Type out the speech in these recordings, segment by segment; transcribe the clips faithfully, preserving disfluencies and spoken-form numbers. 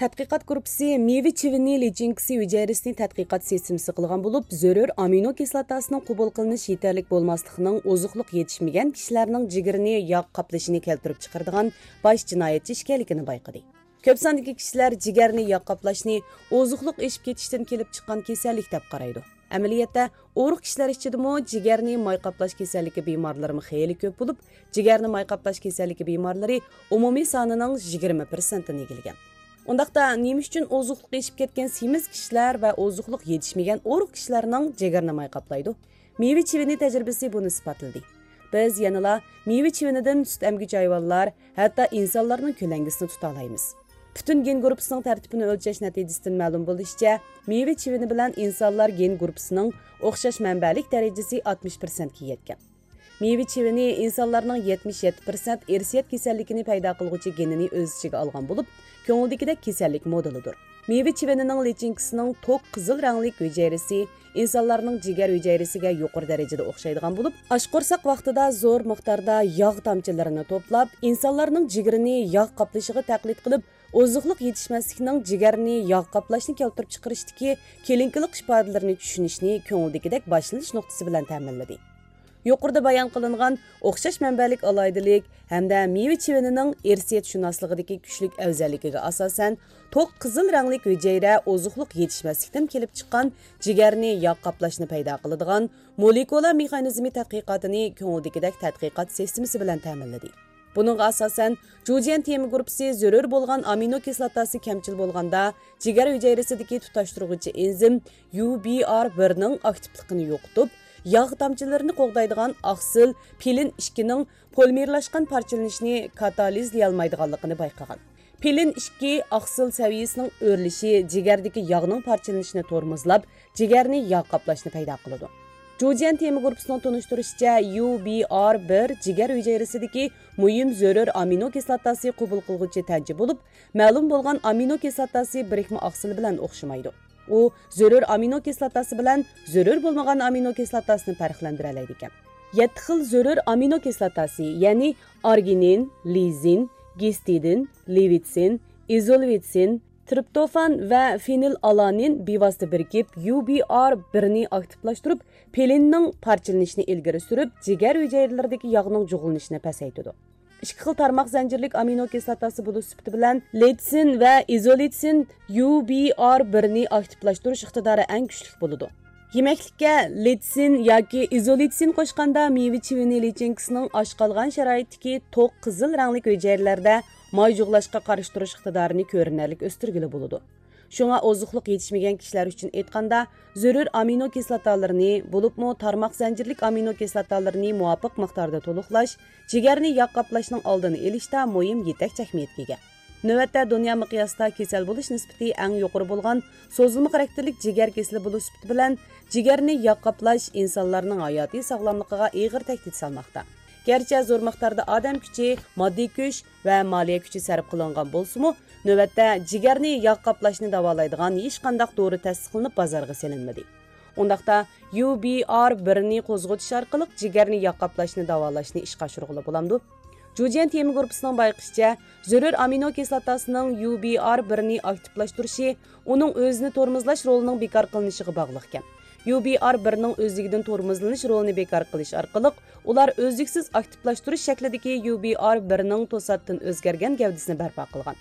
تەتقىقات گۇرۇپپىسى مېۋە چىۋىنى لىچىنكىسى ھۈجەيرىسىنى تەتقىقات سىستېمىسى قىلغان بولۇپ، زۆرۈر ئامىنو كىسلاتاسىنىڭ قوبۇل قىلىنىش يېتەرلىك بولماسلىقىنىڭ ئوزۇقلۇق يېتىشمىگەن كىشىلەرنىڭ جىگىرىنى ياغ قاپلىشىنى كەلتۈرۈپ چىقىرىدىغان باش جىنايەتچى ئىكەنلىكىنى بايقىدى. كۆپ ساندىكى كىشىلەر جىگەرنى ياغ قاپلاشنى ئوزۇقلۇق ئېشىپ كېتىشتىن كېلىپ چىققان كېسەللىك دەپ قارايدۇ. ئەمەلىيەتتە، ئورۇق كىشىلەر ئىچىدىمۇ جىگەرنى ماي قاپلاش كېسەللىكى بىمارلىرىمۇ خېلى كۆپ بولۇپ، جىگەرنى ماي قاپلاش كېسەللىكى بىمارلىرى ئومۇمىي سانىنىڭ يىگىرمە پىرسەنتىنى ئىگىلىگەن. ئۇنداقتا، نېمە ئۈچۈن ئوزۇقلۇق ئېشىپ كەتكەن سېمىز كىشىلەر ۋە ئوزۇقلۇق يېتىشمىگەن ئورۇق كىشىلەرنىڭ جىگەرنى ماي قاپلايدۇ؟ مېۋە چىۋىنى تەجرىبىسى بۇنى ئىسپاتلىدى. بىز يەنىلا مېۋە چىۋىنىدىن سۈت ئەمگۈچى ھايۋانلار، ھەتتا ئىنسانلارنىڭ كۆلەڭگىسىنى تۇتالايمىز. پۈتۈن گېن گۇرۇپپىسىنىڭ تەرتىپىنى ئۆلچەش نەتىجىسىدىن مەلۇم بولۇشىچە، مېۋە چىۋىنى بىلەن ئىنسانلار گېن گۇرۇپپىسىنىڭ ئوخشاش مەنبەلىك دەرىجىسى ئاتمىش پىرسەنتكە يەتكەن. مېۋە چىۋىنى ئىنسانلارنىڭ يەتمىش يەتتە پىرسەنت ئىرسىيەت كېسەللىكىنى پەيدا قىلغۇچى گېنىنى ئۆز ئىچىگە ئالغان بولۇپ، كۆڭۈلدىكىدەك كېسەللىك مودېلىدۇر. مېۋە چىۋىنىنىڭ لىچىنكىسىنىڭ توق قىزىل رەڭلىك ھۈجەيرىسى ئىنسانلارنىڭ جىگەر ھۈجەيرىسىگە يۇقىرى دەرىجىدە ئوخشايدىغان بولۇپ، ئاچ قورساق ۋاقتىدا زور مىقداردا ياغ تامچىلىرىنى توپلاپ، ئىنسانلارنىڭ جىگىرىنى ياغ قاپلىشىغا تەقلىد قىلىپ، ئوزۇقلۇق يېتىشمەسلىكنىڭ جىگەرنى ياغ قاپلاشنى كەلتۈرۈپ چىقىرىشتىكى كىلىنىكىلىق ئىپادىلىرىنى چۈشىنىشنى كۆڭۈلدىكىدەك باشلىنىش نۇقتىسى بىلەن تەمىنلىدى. يۇقىرىدا بايان قىلىنغان ئوخشاش مەنبەلىك ئالاھىدىلىك ھەمدە مېۋە چىۋىنىنىڭ ئىرسىيەتشۇناسلىقىدىكى كۈچلۈك ئەۋزەللىكىگە ئاساسەن، توق قىزىل رەڭلىك ھۈجەيرە ئوزۇقلۇق يېتىشمەسلىكتىن كېلىپ چىققان جىگەرنى ياغ قاپلاشنى پەيدا قىلىدىغان مولېكۇلا مېخانىزمى تەتقىقاتىنى كۆڭۈلدىكىدەك تەتقىقات سىستېمىسى بىلەن تەمىنلىدى. بۇنىڭغا ئاساسەن، جۇجيەن تېما گۇرۇپپىسى زۆرۈر بولغان ئامىنو كىسلاتاسى كەمچىل بولغاندا، جىگەر ھۈجەيرىسىدىكى تۇتاشتۇرغۇچى ئېنزىم يۇ بى ئار بىرنىڭ ئاكتىپلىقىنى يوقىتىپ، ياغ تامچىلىرىنى قوغدايدىغان ئاقسىل پىلىن ئىككىنىڭ پولىمېرلاشقان پارچىلىنىشنى كاتالىزلىيالمايدىغانلىقىنى بايقىغان. پىلىن ئىككى ئاقسىل سەۋىيىسىنىڭ ئۆرلىشى جىگەردىكى ياغنىڭ پارچىلىنىشىنى تورمۇزلاپ، جىگەرنى ياغ قاپلاشنى پەيدا قىلىدۇ. جۇجيەن تېما گۇرۇپپىسىنىڭ تونۇشتۇرۇشىچە، يۇ بى ئار بىر جىگەر ھۈجەيرىسىدىكى مۇھىم زۆرۈر ئامىنو كىسلاتاسى قوبۇل قىلغۇچى تەنچە بولۇپ، مەلۇم بولغان ئامىنو كىسلاتاسى بىرىكمە ئاقسىلى بىلەن ئوخشىمايدۇ. ئۇ زۆرۈر ئامىنو كىسلاتاسى بىلەن زۆرۈر بولمىغان ئامىنو كىسلاتاسىنى پەرقلەندۈرەلەيدىكەن. يەتتە خىل زۆرۈر ئامىنو كىسلاتاسى، يەنى ئارگىنىن، لىزىن، گىستىدىن، لېۋىتسىن، ئىزولۋىتسىن، ترىپتوفان ۋە فېنىلئالانىن بىۋاسىتە بىرىكىپ، يۇ بى ئار بىرنى ئاكتىپلاشتۇرۇپ، پىلىننىڭ پارچىلىنىشىنى ئىلگىرى سۈرۈپ، جىگەر ھۈجەيرىلىرىدىكى ياغنىڭ جۇغلىنىشىنى پەسەيتىدۇ. ئىككى خىل تارماق زەنجىرلىك ئامىنو كىسلاتاسى بولۇش سۈپىتى بىلەن لېتسىن ۋە ئىزولېتسىن يۇ بى ئار بىرنى ئاكتىپلاشتۇرۇش ئىقتىدارى ئەڭ كۈچلۈك بولىدۇ. يېمەكلىككە لېتسىن ياكى ئىزولېتسىن قوشقاندا مېۋە چىۋىنى لىچىنكىسىنىڭ ئاچ قالغان شارائىتتىكى توق قىزىل رەڭلىك ھۈجەيرىلەردە ماي جۇغلاشقا قارشى تۇرۇش ئىقتىدارىنى كۆرۈنەرلىك ئۆستۈرگىلى بولىدۇ. شۇڭا ئوزۇقلۇق يېتىشمىگەن كىشىلەر ئۈچۈن ئېيتقاندا، زۆرۈر ئامىنو كىسلاتالىرىنى، بولۇپمۇ تارماق زەنجىرلىك ئامىنو كىسلاتالىرىنى مۇۋاپىق مىقداردا تولۇقلاش، جىگەرنى ياغ قاپلاشنىڭ ئالدىنى ئېلىشتا مۇھىم يېتەكچى ئەھمىيەتكە ئىگە. نۆۋەتتە دۇنيا مىقياسىدا كېسەل بولۇش نىسبىتى ئەڭ يۇقىرى بولغان سوزۇلما خاراكتېرلىك جىگەر كېسىلى بولۇش سۈپىتى بىلەن، جىگەرنى ياغ قاپلاش ئىنسانلارنىڭ ھاياتىي ساغلاملىقىغا ئېغىر تەھدىت سالماقتا. گەرچە زور مىقداردا ئادەم كۈچى، ماددىي كۈچ ۋە مالىيە كۈچى سەرپ قىلىنغان بولسىمۇ، نۆۋەتتە جىگەرنى ياغ قاپلاشنى داۋالايدىغان ھېچقانداق دورا تەستىقلىنىپ بازارغا سېلىنمىدى. ئۇنداقتا، يۇ بى ئار بىرنى قوزغىتىش ئارقىلىق جىگەرنى ياغ قاپلاشنى داۋالاشنى ئىشقا ئاشۇرغىلى بولامدۇ؟ جۇجيەن تېما گۇرۇپپىسىنىڭ بايقىشىچە، زۆرۈر ئامىنو كىسلاتاسىنىڭ يۇ بى ئار بىرنى ئاكتىپلاشتۇرۇشى ئۇنىڭ ئۆزىنى تورمۇزلاش رولىنىڭ بىكار قىلىنىشىغا باغلىقكەن. يۇ بى ئار بىرنىڭ ئۆزلۈكىدىن تورمۇزلىنىش رولىنى بىكار قىلىش ئارقىلىق، ئۇلار ئۈزلۈكسىز ئاكتىپلاشتۇرۇش شەكلىدىكى يۇ بى ئار بىرنىڭ توساتتىن ئۆزگەرگەن گەۋدىسىنى بەرپا قىلغان.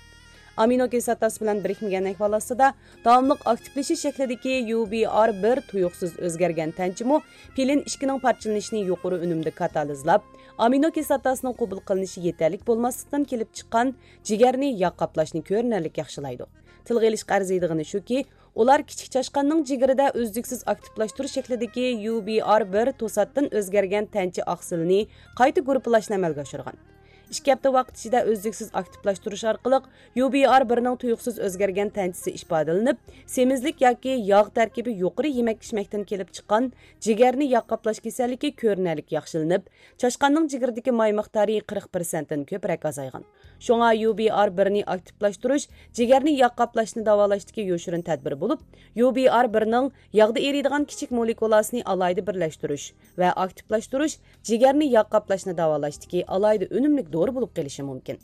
ئامىنو كىسلاتاسى بىلەن بىرىكمىگەن ئەھۋال ئاستىدا داۋاملىق ئاكتىپلىشىش شەكلىدىكى يۇ بى ئار بىر تۇيۇقسىز ئۆزگەرگەن تەنچىمۇ پىلىن ئىككىنىڭ پارچىلىنىشىنى يۇقىرى ئۈنۈمدە كاتالىزلاپ، ئامىنو كىسلاتاسىنىڭ قوبۇل قىلىنىشى يېتەرلىك بولماسلىقتىن كېلىپ چىققان جىگەرنى ياغ قاپلاشنى كۆرۈنەرلىك ياخشىلايدۇ. تىلغا ئېلىشقا ئەرزىيدىغىنى شۇكى، ئۇلار كىچىك چاشقاننىڭ جىگىرىدە ئۈزلۈكسىز ئاكتىپلاشتۇرۇش شەكلىدىكى يۇ بى ئار بىر توساتتىن ئۆزگەرگەن تەنچە ئاقسىلىنى قايتا گۇرۇپپىلاشنى ئەمەلگە ئاشۇرغان. ئىككى ھەپتە ۋاقىت ئىچىدە ئۈزلۈكسىز ئاكتىپلاشتۇرۇش ئارقىلىق يۇ بى ئار بىرنىڭ تۇيۇقسىز ئۆزگەرگەن تەنچىسى ئىپادىلىنىپ، سېمىزلىك ياكى ياغ تەركىبى يۇقىرى يېمەك-ئىچمەكتىن كېلىپ چىققان جىگەرنى ياغ قاپلاش كېسەللىكى كۆرۈنەرلىك ياخشىلىنىپ، چاشقاننىڭ جىگىرىدىكى ماي مىقدارى قىرىق پىرسەنتتىن كۆپرەك ئازايغان. شۇڭا يۇ بى ئار بىرنى ئاكتىپلاشتۇرۇش جىگەرنى ياغ قاپلاشنى داۋالاشتىكى يوشۇرۇن تەدبىر بولۇپ، يۇ بى ئار بىرنىڭ ياغدا ئېرىيدىغان كىچىك مولېكۇلاسىنى ئالاھىدە بىرلەشتۈرۈش ۋە ئاكتىپلاشتۇرۇش جىگەرنى ياغ قاپلاشنى داۋالاشتىكى ئالاھىدە ئۈنۈملۈك دورا بولۇپ قېلىشى مۇمكىن.